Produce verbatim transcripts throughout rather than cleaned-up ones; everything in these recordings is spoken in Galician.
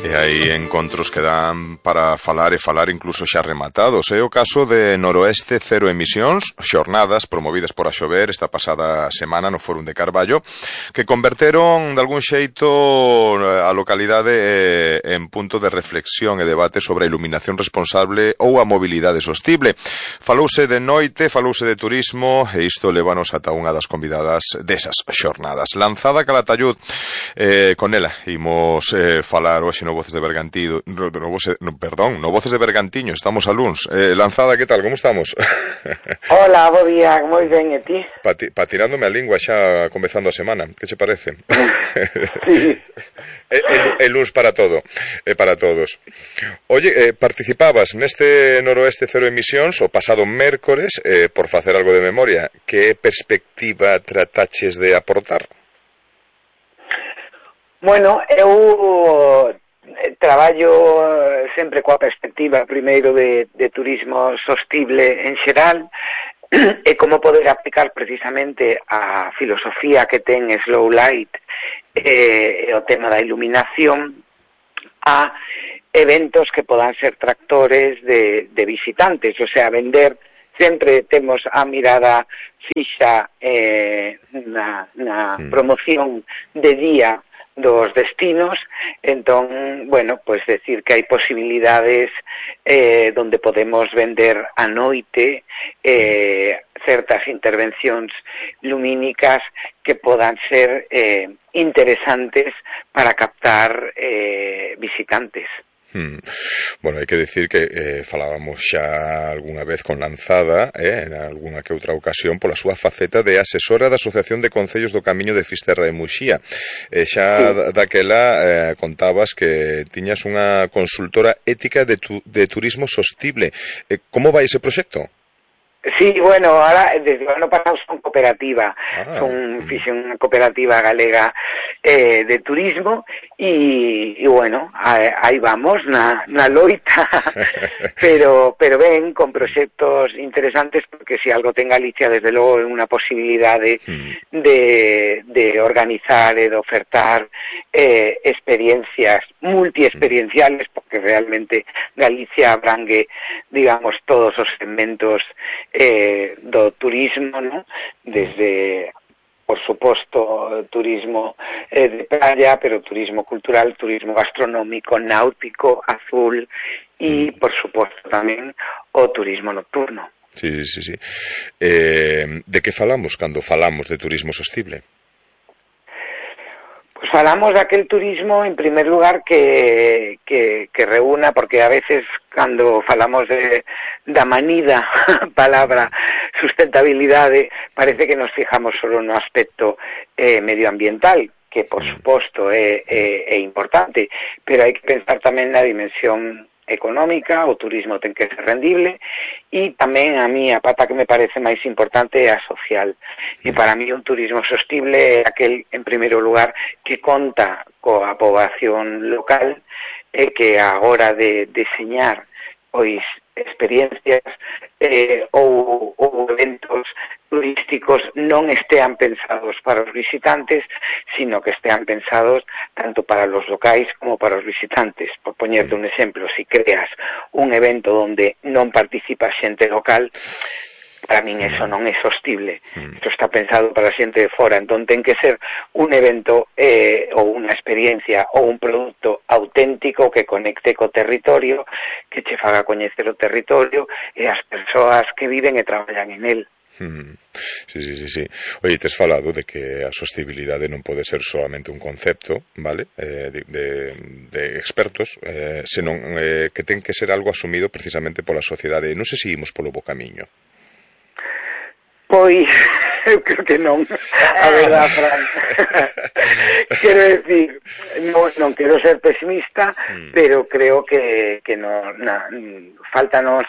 E hai encontros que dan para falar e falar incluso xa rematados. É o caso de Noroeste Cero Emisións, xornadas promovidas por Axover esta pasada semana no Fórum de Carballo, que converteron de algún xeito a localidade en punto de reflexión e debate sobre a iluminación responsable ou a mobilidade sostible. Falouse de noite, falouse de turismo e isto levanos ata unha das convidadas desas xornadas. Lanzada Calatayud, eh, con ela imos eh, falar hoxe no Voces de Bergantiño, no, no, no, perdón, no Voces de Bergantiño, estamos a luns. Eh, Lanzada, que tal, como estamos? Hola, bo día, moi ben, e ti? Pa, pa tirándome a lingua xa comezando a semana, que che parece? Sí. El, el luns para todo, eh, para todos. Oye, eh, participabas neste Noroeste Cero Emisións o pasado mércores, eh, por facer algo de memoria. Que perspectiva trataches de aportar? Bueno, eu traballo sempre coa perspectiva primeiro de, de turismo sostible en xeral e como poder aplicar precisamente a filosofía que ten Slow Light e eh, o tema da iluminación a eventos que podan ser tractores de, de visitantes, o sea, vender. Sempre temos a mirada fixa eh, na, na promoción de día dos destinos, entón, bueno, pues decir que hai posibilidades eh, donde podemos vender a noite eh, certas intervencións lumínicas que podan ser eh, interesantes para captar eh, visitantes. Hmm. Bueno, hai que decir que eh, falábamos xa algunha vez con Lanzada, eh, en algunha que outra ocasión, pola súa faceta de asesora da Asociación de Concellos do Camiño de Fisterra e Muxía. E xa sí. daquela eh, contabas que tiñas unha consultora ética de, tu, de turismo sostible. Eh, como vai ese proxecto? Sí, bueno, ahora desde o ano pasado son cooperativa, ah. son fixen unha cooperativa galega eh, de turismo e, e bueno, aí vamos na, na loita, pero pero ben, con proxectos interesantes, porque se si algo ten Galicia, desde logo é unha posibilidade mm. de, de organizar e de ofertar eh, experiencias multiexperienciales, porque realmente Galicia abrangue, digamos, todos os segmentos Eh, do turismo, ¿no? Desde, por suposto, turismo eh, de playa, pero turismo cultural, turismo gastronómico, náutico, azul y, por suposto, tamén o turismo nocturno. Sí, sí, sí. Eh, de que falamos cando falamos de turismo sostible? Pues falamos de aquel turismo, en primer lugar, que, que, que reúna, porque a veces cando falamos de da manida palabra sustentabilidade, parece que nos fijamos solo no aspecto eh, medioambiental, que por suposto é, é, é importante, pero hai que pensar tamén na dimensión económica, o turismo ten que ser rendible, e tamén a mí a pata que me parece máis importante é a social. E para mí un turismo sostible é aquel, en primeiro lugar, que conta coa poboación local e que a hora de deseñar pois experiencias eh, ou, ou eventos turísticos non estean pensados para os visitantes, sino que estean pensados tanto para los locais como para os visitantes. Por poñerte un exemplo, si creas un evento onde non participa xente local, para min eso non é sostible. Isto está pensado para a xente de fora, entón ten que ser un evento eh, ou unha experiencia ou un produto auténtico que conecte co territorio, que che faga coñecer o territorio e as persoas que viven e traballan en él. Sí, sí, sí, sí. Oye, tes falado de que a sostibilidade non pode ser solamente un concepto, vale, eh, de, de, de expertos, eh, senón eh, que ten que ser algo asumido precisamente pola sociedade. Non sei se imos polo bo camiño. Pois, eu creo que non, a verdade, Fran. Quero decir, non, non quero ser pesimista, mm. pero creo que, que no, na, faltanos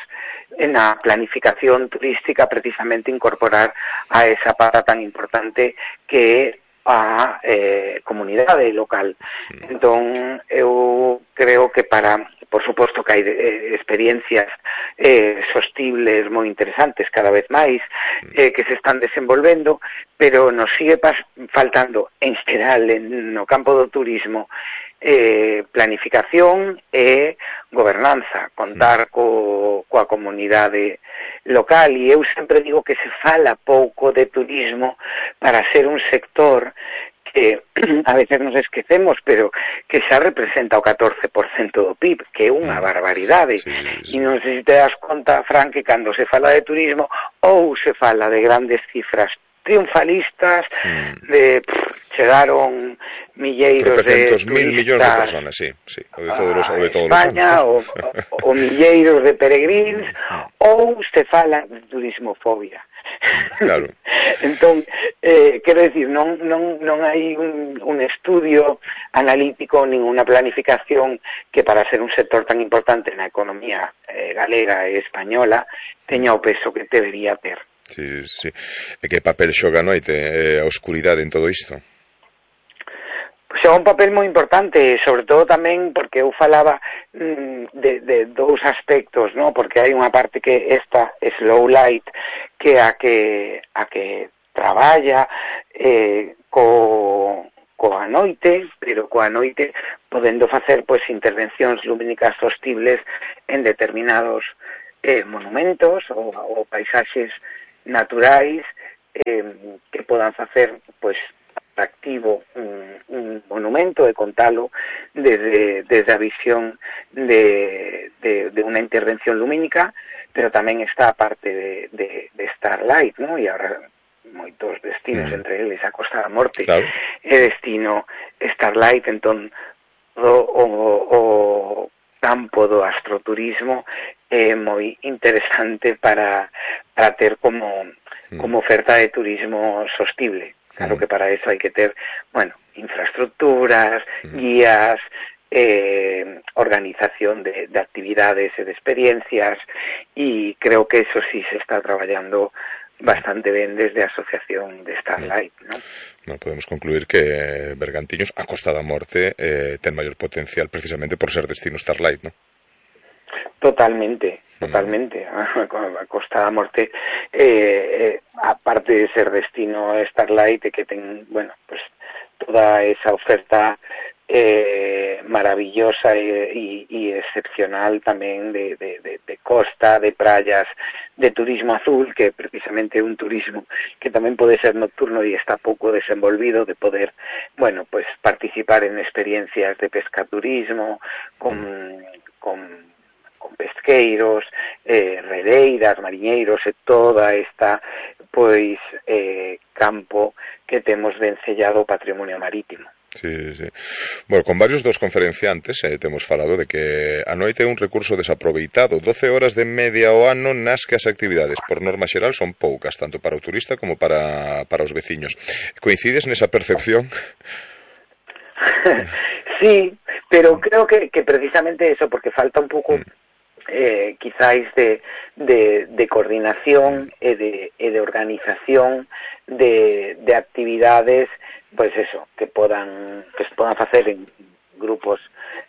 na planificación turística precisamente incorporar a esa pata tan importante que é a eh, comunidade local. Mm. Entón, eu creo que para por suposto que hai eh, experiencias eh, sostibles moi interesantes cada vez máis eh, que se están desenvolvendo, pero nos sigue pas faltando en xeral en, no campo do turismo eh, planificación e gobernanza, contar co, coa comunidade local, e eu sempre digo que se fala pouco de turismo para ser un sector que a veces nos esquecemos, pero que xa representa o catorce por cento do P I B, que é unha barbaridade. Sí, sí. E non sei se te das conta, Fran, que cando se fala de turismo ou se fala de grandes cifras triunfalistas, mm. de pff, chegaron milleiros de turistas mil millóns de personas, sí, sí, o de todos os, o de todos España, os anos. O, o, o milleiros de peregrins, ou se fala de turismofobia. Claro. Entón, eh, quero dicir, non, non, non hai un, un estudio analítico nin unha planificación que para ser un sector tan importante na economía eh, galega e española teña o peso que debería ter. Sí, sí. E que papel xoga a noite, eh, a oscuridade en todo isto? Xoga un papel moi importante, sobre todo tamén porque eu falaba mm, de, de dous aspectos, ¿no? Porque hai unha parte que esta slow light que a que a que traballa eh, co coa noite, pero coa noite podendo facer pois intervencións lumínicas sostibles en determinados eh, monumentos ou, ou paisaxes naturais eh, que podan facer pois atractivo un, un monumento e contalo desde, desde a visión de, de, de unha intervención lumínica, pero tamén está a parte de, de, de Starlight, ¿no? E agora moitos destinos, mm. entre eles a Costa da Morte, claro. E destino Starlight, entón o, o, o campo do astroturismo é moi interesante para, para ter como, mm. como oferta de turismo sostible. Claro que para eso hay que ter, bueno, infraestructuras, guías, eh, organización de, de actividades e de experiencias, y creo que eso sí se está traballando bastante ben desde a asociación de Starlight, ¿no? No, podemos concluir que Bergantiños, a Costa da Morte, eh, ten maior potencial precisamente por ser destino Starlight, ¿no? Totalmente, totalmente. A Costa da Morte, eh, eh, aparte de ser destino Starlight, que ten, bueno, pues toda esa oferta eh, maravillosa y, y, y excepcional tamén de, de, de, de costa, de prayas, de turismo azul, que precisamente é un turismo que tamén pode ser nocturno e está pouco desenvolvido, de poder, bueno, pues participar en experiencias de pescaturismo, con, con con pesqueiros, eh, redeiras, mariñeiros e toda esta pois eh, campo que temos vencellado o patrimonio marítimo. Sí, sí. Bueno, con varios dos conferenciantes eh, temos falado de que a noite é un recurso desaproveitado, doce horas de media ao ano nas que as actividades, por norma xeral, son poucas, tanto para o turista como para, para os veciños. Coincides nesa percepción? Sí, pero creo que, que precisamente eso, porque falta un pouco... Mm. Eh, quizáis de, de, de coordinación e de, e de organización de, de actividades, pues eso, que podan que se podan facer en grupos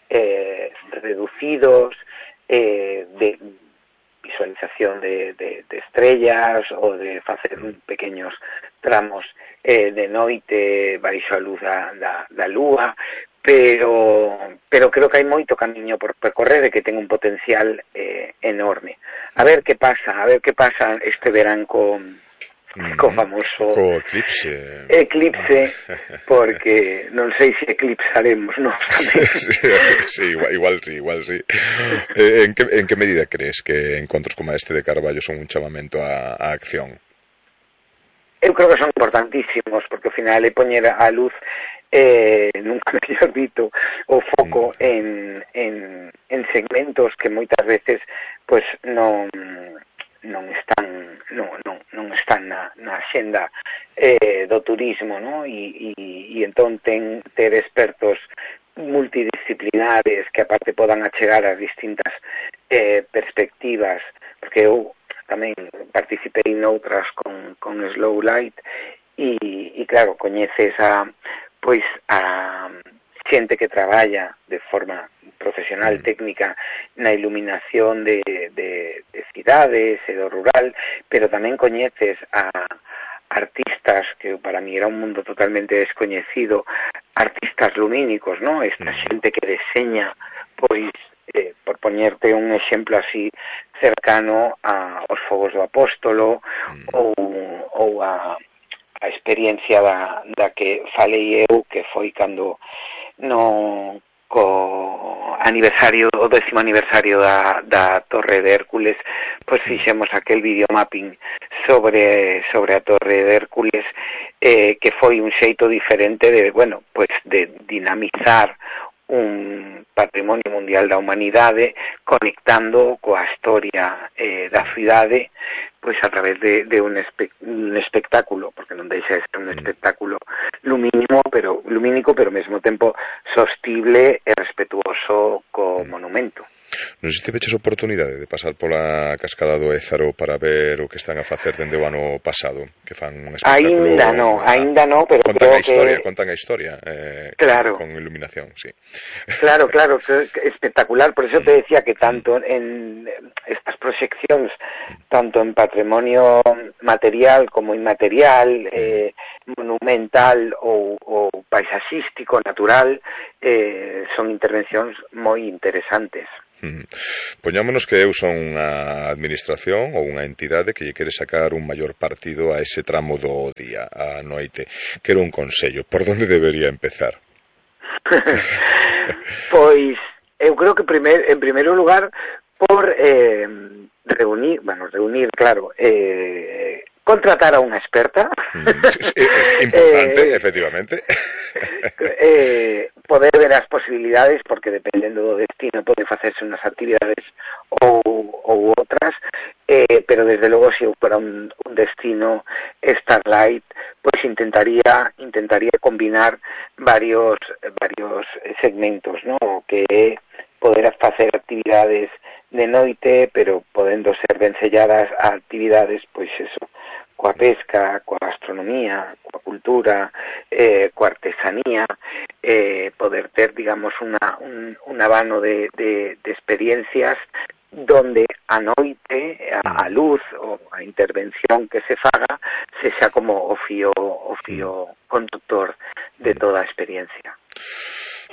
eh, reducidos, eh, de visualización de, de, de estrellas ou de facer pequeños tramos eh, de noite baixo a luz da, da, da lúa, pero pero creo que hai moito camiño por percorrer e que ten un potencial eh, enorme. A ver que pasa, a ver que pasa este verán con co famoso co eclipse. Eclipse, porque non sei se eclipsaremos, non? Sí, sí, sí, igual, igual sí, igual sí. Eh, en que en que medida crees que encontros como este de Carballo son un chamamento a, a acción? Eu creo que son importantísimos, porque ao final é poñer a luz eh, nunca mellor dito o foco en, en, en segmentos que moitas veces pues non non están non, non, non están na, na xenda eh, do turismo, ¿no? E, e, e entón ten ter expertos multidisciplinares que aparte podan achegar as distintas eh, perspectivas, porque eu tamén participei noutras con, con Slow Light e, e claro, coñeces a pois a xente que traballa de forma profesional, mm. técnica na iluminación de, de, de cidades e do rural, pero tamén coñeces a artistas que para mí era un mundo totalmente descoñecido, artistas lumínicos, ¿no? Esta xente que deseña, pois, eh, por poñerte un exemplo así cercano a os fogos do Apóstolo mm. ou, ou a, a experiencia da, da que falei eu, que foi cando no co aniversario, o décimo aniversario da, da Torre de Hércules, pois fixemos aquel videomapping sobre sobre a Torre de Hércules, eh, que foi un xeito diferente de, bueno, pois de dinamizar un patrimonio mundial da humanidade conectando coa historia eh, da cidade, pois a través de, de un, espe un espectáculo, porque non deixa de ser un espectáculo lumínico, pero lumínico, pero ao mesmo tempo sostible e respetuoso co monumento. Non sei se tiveches oportunidade de pasar pola cascada do Ézaro para ver o que están a facer dende o ano pasado, que fan un espectáculo... Ainda no, a, ainda no, pero contan creo a historia, que... Contan a historia, eh, claro. con, con iluminación, sí. Claro, claro, espectacular, por eso te decía que tanto en estas proxeccións, tanto en patrimonio material como inmaterial, eh, monumental ou, ou paisaxístico, natural, eh, son intervencións moi interesantes. Mm. Poñámonos que eu son unha administración ou unha entidade que lle quere sacar un maior partido a ese tramo do día, a noite. Quero un consello, por onde debería empezar? Pois, eu creo que primer, en primeiro lugar por eh, reunir, bueno, reunir, claro, eh, contratar a unha experta. Mm, es, es importante, eh, efectivamente. eh, poder ver as posibilidades, porque dependendo do destino pode facerse unhas actividades ou, ou outras, eh, pero desde logo se eu para un, un destino Starlight, pois intentaría intentaría combinar varios varios segmentos, ¿no? Que é poder facer actividades de noite, pero podendo ser ben selladas a actividades, pois eso, coa pesca, coa gastronomía, coa cultura, eh, coa artesanía, eh, poder ter, digamos, una, un, un abano de, de, de experiencias donde a noite, a, a luz ou a intervención que se faga se xa como o fío, o fío conductor de toda a experiencia.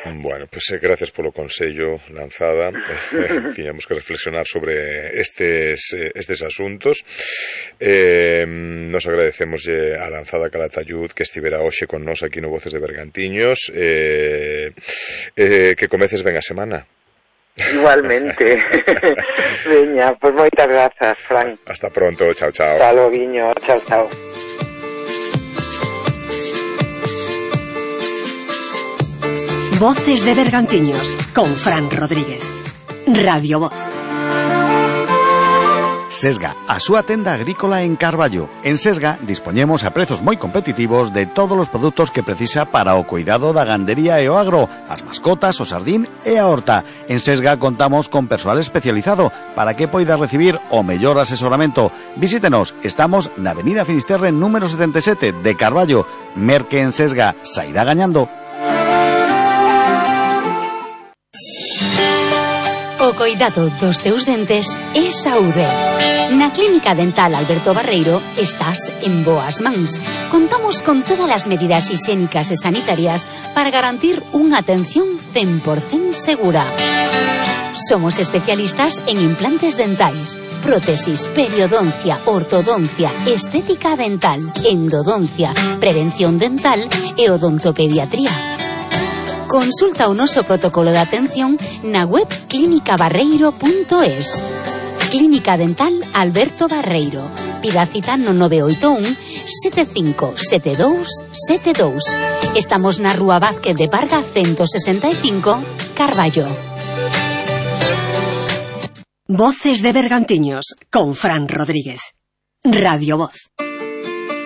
Bueno, pues eh, gracias polo consello, Lanzada. Eh, tiñamos que reflexionar sobre estes, eh, estes asuntos. Eh, nos agradecemos a Lanzada Calatayud que estivera hoxe con nós aquí no Voces de Bergantiños. Eh, eh, que comeces ben a semana. Igualmente. Veña, pues moitas grazas, Fran. Hasta pronto, chao, chao. Hasta logo, guiño, chao, chao. Voces de Bergantiños con Fran Rodríguez. Radio Voz. Sesga, a súa tenda agrícola en Carballo. En Sesga dispoñemos a prezos moi competitivos de todos os produtos que precisa para o cuidado da gandería e o agro, as mascotas, o sardín e a horta. En Sesga contamos con persoal especializado para que poida recibir o mellor asesoramento. Visítenos, estamos na Avenida Finisterre número setenta e sete de Carballo. Merque en Sesga, sairá gañando. O coidado dos teus dentes é saúde. Na Clínica Dental Alberto Barreiro estás en boas mans. Contamos con todas as medidas higiénicas e sanitarias para garantir unha atención cen por cento segura. Somos especialistas en implantes dentais, prótesis, periodoncia, ortodoncia, estética dental, endodoncia, prevención dental e odontopediatría. Consulta o noso protocolo de atención na web clínica barreiro punto es. Clínica Dental Alberto Barreiro. Pida cita no nove oito un sete cinco sete dous sete dous. Estamos na Rúa Vázquez de Parga ciento sesenta e cinco, Carballo. Voces de Bergantiños con Fran Rodríguez. Radio Voz.